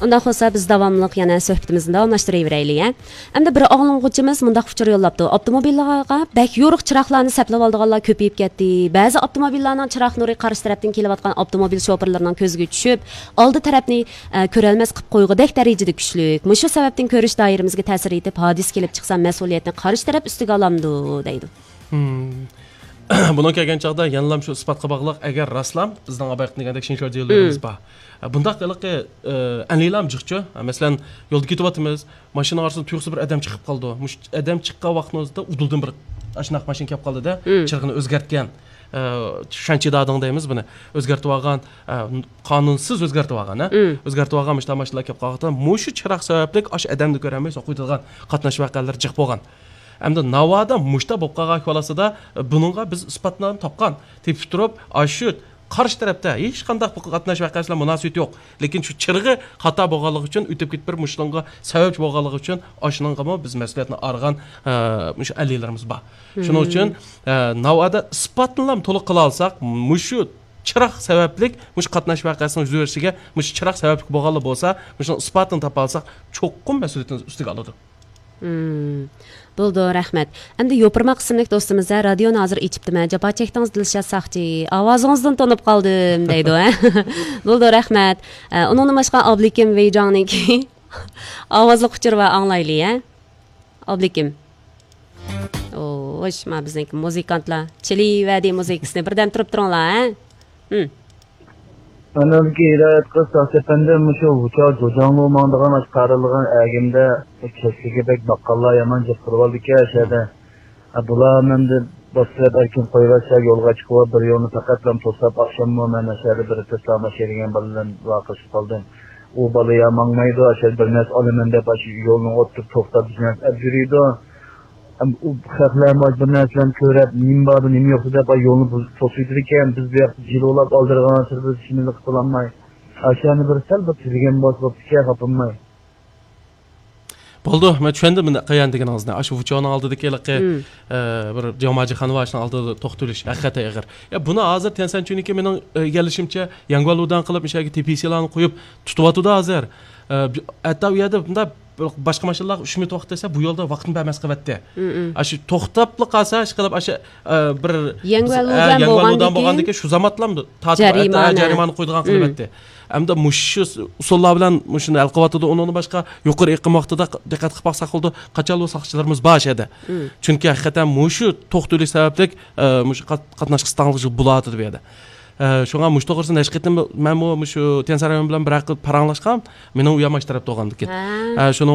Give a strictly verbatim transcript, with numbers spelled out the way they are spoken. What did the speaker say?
ئۇنداق بولسا، بىز داۋاملىق يەنە سۆھبىتىمىزنى داۋاملاشتۇرۇۋېرەيلى، ھە؟ ئەمدى بىر ئاڭلىغۇچىمىز مۇنداق ئۇچۇر يوللاپتۇ: ئاپتوموبىللارغا بەك يورۇق چىراغلارنى سەپلەۋالىدىغانلار كۆپىيىپ كەتتى. بەزى ئاپتوموبىللارنىڭ چىراغ نۇرى قارشى تەرەپتىن كېلىۋاتقان ئاپتوموبىل شوپۇرلىرىنىڭ كۆزىگە چۈشۈپ، ئالدى تەرەپنى، ئە، كۆرەلمەس قىلىپ قويغۇدەك دەرىجىدە كۈچلۈك. مۇشۇ سەۋەبتىن كۆرۈش دائىرىمىزگە تەسىر يېتىپ، ھادىسە كېلىپ چىقسا، مەسئۇلىيەتنى قارشى تەرەپ ئۈستىگە ئالامدۇ؟ دەيدۇ. مم. بۇنىڭ كەلگەن چاغدا يەنىلام شۇ ئىسپاتقا باغلىق، ئەگەر راستلام بىزنىڭ ئاۋايقى دېگەندەك شىنشۇ دېلولىرىمىز مم. بار. بۇنداق ھېلىقى، ئە، ئەنلىلام جىقچۇ. مەسىلەن، يولدا كېتىۋاتىمىز، ماشىنا ئارىسىدا تۇيۇقسىز بىر ئادەم چىقىپ قالىدۇ. مۇشۇ ئادەم چىققان ۋاقىتنىڭ ئۆزىدە ئۇدۇلدىن بىر ئاشۇنداق ماشىنا كېلىپ قالدىدە، مم. چىرىغىنى ئۆزگەرتكەن، ئە، شۈەنچى دادىڭ دەيمىز بۇنى. ئۆزگەرتىۋالغان، ئە، قانۇنسىز ئۆزگەرتىۋالغان، ھە؟ مم. ئۆزگەرتىۋالغان مۇشۇنداق ماشىنىلار كېلىپ قالغاندا، مۇشۇ چىراغ سەۋەبلىك ئاشۇ ئادەمنى كۆرەلمەي سوقۇۋېتىدىغان قاتناش ۋەقەلىرى جىق بولغان. ئەمدى ناۋادا مۇشتا بولۇپ قالغان ئەھۋالاسىدا، بۇنىڭغا بىز ئىسپاتنى تاپقان. تېپىپ تۇرۇپ، ئاشۇ قارشى تەرەپتە ھېچقانداق بۇ قاتناش ۋەقەسى بىلەن مۇناسىۋىتى يوق. لېكىن شۇ چىرىغى خاتا بولغانلىقى ئۈچۈن، ئۆتۈپ كېتىپ بىر مۇشۇنىڭغا سەۋەبچى بولغانلىقى ئۈچۈن، ئاشۇنىڭغىمۇ بىز مەسئۇلىيەتنى ئارغان، ئە، مۇشۇ ئەللىلىرىمىز بار. شۇنىڭ ئۈچۈن، مم. ئە، ناۋادا ئىسپاتنىلا تولۇق قىلالىساق، مۇشۇ چىراغ سەۋەبلىك مۇشۇ قاتناش ۋەقەسىنىڭ يۈز بېرىشىگە مۇشۇ چىراغ سەۋەبلىك بولغانلا بولسا، مۇشۇنىڭ ئىسپاتىنى تاپالىساق، چوقۇم مەسئۇلىيىتىنى ئۈستىگە ئالىدۇ. مم. بولىدۇ، رەھمەت. ئەمدى يوپۇرماق ئىسىملىك دوستىمىز، ھە، رادىيونى ھازىر ئېچىپتىمەن. جاپا چەكتىڭىز، دىلشات ساقچى. ئاۋازىڭىزدىن تونۇپ قالدىم، دەيدۇ، ھە؟ بولىدۇ، رەھمەت. ئە، ئۇنىڭدىن باشقا، ئابلىكىم ۋېيجاڭنىڭكى ئاۋازلىق ئۇچۇر بار، ئاڭلايلى، ھە؟ ئابلىكىم. ئوش، ما بىزنىڭكى مۇزىكانتلار چېلىۋەردى مۇزىكىسىنى. بىردەم تۇرۇپ تۇرۇڭلار، ھە؟ ھىم. مەنىڭكى ھىدايەت قىز تاختى ئەپەندى مۇشۇ ۋۇچا جوجاڭلۇ ماڭىدىغان ئاشۇ قارىلىغان ئەگىمدە كەچلىكى بەك باققانلار يامان جىق تۇرۇۋالىدىكەن ئەشەدە. ھە، بۇلار مەندە باشلاپ ئەركىن قويۇۋەتسە يولغا چىقىۋاپ بىر يولنى پەقەتلا توساپ، ئاخشاممۇ مەن ئەشەدە بىر تېسلا ماشىنا دېگەن بالا بىلەن ۋارقىرىشىپ قالدىم. ئۇ بالا يا ماڭمايدۇ، ئاشۇ بىر نەرسە ئالىمەن دەپ، ئاشۇ يولنىڭ ئوتتۇرىدا توختاپ، بىز بىلەن ئەپ يۈرىدۇ. ئەم، ئۇ خەقلەر مانا بىر نەرسىلەرنى كۆرۈپ، نېمە باردۇ، نېمە يوقتۇ دەپ، ئاي، يولنى بۇزۇپ توسۇۋېتىدىكەن. بىز بۇ ياقتا جىلۋىلاپ ئالدىرىغان سىرى بىز ئىشىمىزنى قىلالماي. ئاشۇ يەرنى بىر سەل بىر تۈزىگەن بولسا بوپتىكەن، خاپىماي. بولدى، مەن چۈشەندىم مېنى قىلغان دېگىنىڭىزنى. ئاشۇ ۋۇچاۋنىڭ ئالدىدىكى ھېلىقى، مم. ئە، بىر جاماجىخانا بار، شۇنىڭ ئالدىدا توختىلىش ھەقىقەتەن ئېغىر. يا، بۇنى ھازىر تيەنسەنچۈنىكى مېنىڭ، ئە، ئىگىلىشىمچە، يەڭگۈەنلۇدان قىلىپ، مۇشۇ يەرگە تېپىسىلارنى قويۇپ تۇتۇۋاتىدۇ ھازىر. ئە، ھەتتا ئۇ يەردە بۇنداق بىر باشقا ماشىنىلارغا ئۈشمىتىۋاتىدۇ دېسە، بۇ يولدا ۋاقىتنى بەرمەس قىلىۋەتتى. مم، مم. ئاشۇ توختاپلا قالسا، ئىشقىلىپ، ئاشۇ، ئە، بىر يەڭگۈەنلۇدان ئە، يەڭگۈەنلۇدان بولغاندىكىن بولغاندىكىن شۇ زاماتلامدۇ تارتىپ، جەرىمانە. ئە، جەرىمانە قويىدىغان مم. قىلىۋەتتى. ئەمدى مۇشۇ ئۇسۇللار بىلەن مۇشۇنى ھەل قىلىۋاتىدۇ. ئۇنىڭدىن باشقا يۇقىرى ئېقىم ۋاقتىدا دىققەت قىلىپ باقساق بولىدۇ. قاچانلۇ ساقچىلىرىمىز بار شۇ يەردە. مم. چۈنكى ھەقىقەتەن مۇشۇ توختىلىش سەۋەبلىك، ئە، مۇشۇ قات-، قاتناش قىستاڭلىق بولۇۋاتىدۇ بۇ يەردە. ئە، شۇڭا مۇشۇ توغرىسىدا نەشقىتىن مەنمۇ مۇشۇ تيەنسەن رايونى بىلەن بىر ھەققە پاراڭلاشقان، مېنىڭ ئۇيام ئاشۇ تەرەپتە بولغاندىكىن. ھە. ئە، شۇنىڭ